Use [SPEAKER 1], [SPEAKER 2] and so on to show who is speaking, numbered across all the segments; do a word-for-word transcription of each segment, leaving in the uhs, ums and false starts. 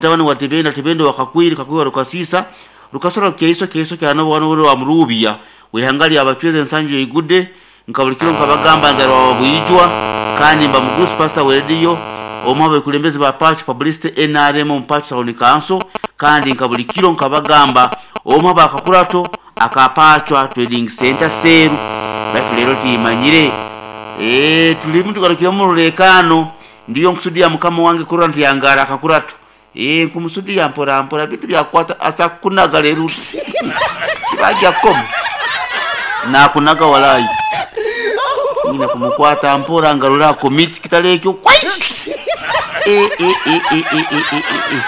[SPEAKER 1] Mutabani wa Tebenda, Tebenda wa Kakwiri, Kakwiri wa Rukasisa, Rukasora Keiso, Keiso kyano wa Murubya, wihanga lya Abachwezi ensanju eigudde, nkabulikiro nkabagamba nzarwa wa Bwijwa, kandi mba mugurusi pastor wa radio, omwe abekulembezi ba Pachu Publicity N R M mu Pachu Town Council, kandi nkabulikiro nkabagamba omwe abakakurato akapachwa Trading Center Seru, baitu lero timanyire. Eh, tulimu tugarukira mu rulekano, ndiyo nkusudia mukama wange kurora nti yangara akakurato. Eh, nkumusudia mpora mpora bintu byakwata asa kunaga lero. Bajya kom. Na kunaga walai. Nina kumukwata mpora ngarura komiti kitalekyo kwai. Eh, eh, eh, eh, eh, eh, eh, eh.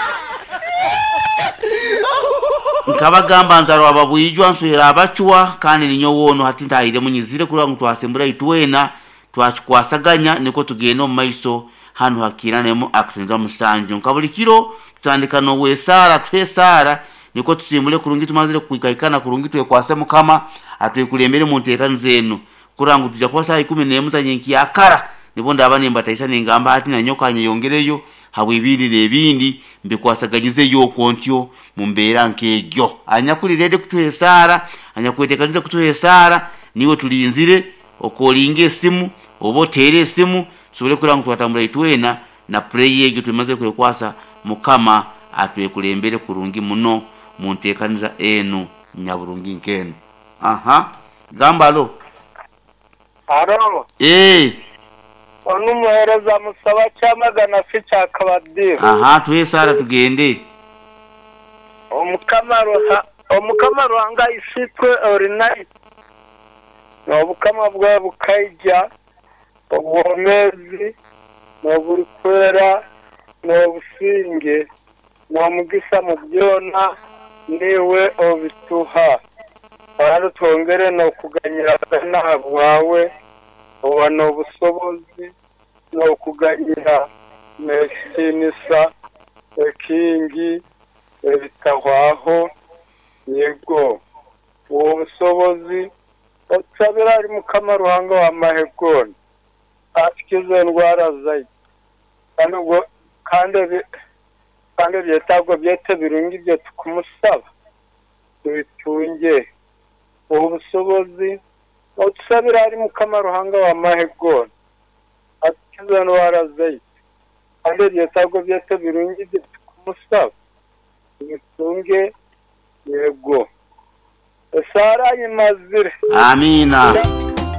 [SPEAKER 1] Nkabagamba nzarwa ababwijwa nswera abachwa kandi ninyo wono hati ntahire munyizire kurwa ngu twasembura itwena twakikwasaganya niko tugenda omu maiso hano hakiranemu akutenza musanju nkabulikiro tutandika no wesara twesara niko tusimbule kurungi tumazire kuikaikana kurungi twekwase mukama atwekulembere mu nteeka zenu kurangu tuja kuba saa ikumi n'emu za nyenki yakara nibo ndaba nimba ningamba ati nanyoka nyeyongereyo habwe ibindi n'ebindi mbikwasaganyizeyo okwo ntyo mu mbeera nk'egyo anyakulirede kutuha esaara anyakweteekaniza kutuha esaara niwe tulinzire okolinga esimu oba oteere esimu tusobole kuraba ngu twatambura itwena na pureyi egyo tumaze kwekwasa mukama atwekulembere kurungi muno mu nteekaniza enu nyaburungi nk'enu. Aha gamba alo.
[SPEAKER 2] Alo.
[SPEAKER 1] Eh.
[SPEAKER 2] Onu muhereza musaba cyamagana si cyakabadira.
[SPEAKER 1] Aha tuhe sara tugende.
[SPEAKER 2] Omukama ruha omukama ruhanga isitwe orinai. Nobukama bwa bukaija obwomezi noburikwera nobusinge nomugisa mu byona niwe obituha. Kandi twongere nokuganyira bwawe oba nobusobozi nokuganyira nekitinisa ekingi ebitahwaho yego uwo busobozi otusabira ari mukama ruhanga wa mahegoni atukize endwara zaitu kandi ubwo kandi kandi ebyetaago byaitu ebirungi bye tukumusaba tubitunge ubu busobozi otusabira ari mukama ruhanga wa mahegoni atukize endwara zaitu kandi ebyetaago byaitu ebirungi bye tukumusaba tubitunge yego. Esara yimazire.
[SPEAKER 1] Amina.